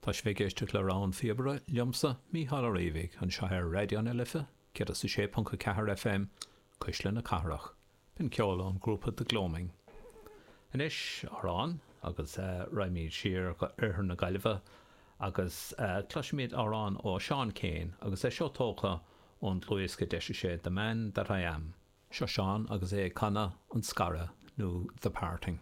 Tá sibh ag éisteacht le Rogha an Phíobaire, liomsa, Mícheál Ó Riabhaigh, anseo ar Raidió na Life, 106.4 FM, Cuisle na Cathrach. B'in ceol ón ghrúpa The Gloaming. Anois, amhrán, agus raghaimid siar go oirthear na Gaillimhe agus cloisfimid amhrán ó Seán Keane agus é seo tógtha ón dlúthdhiosca a d'eisigh sé The Man That I Am. Seo Seán agus é ag canadh An Scaradh nó The Parting.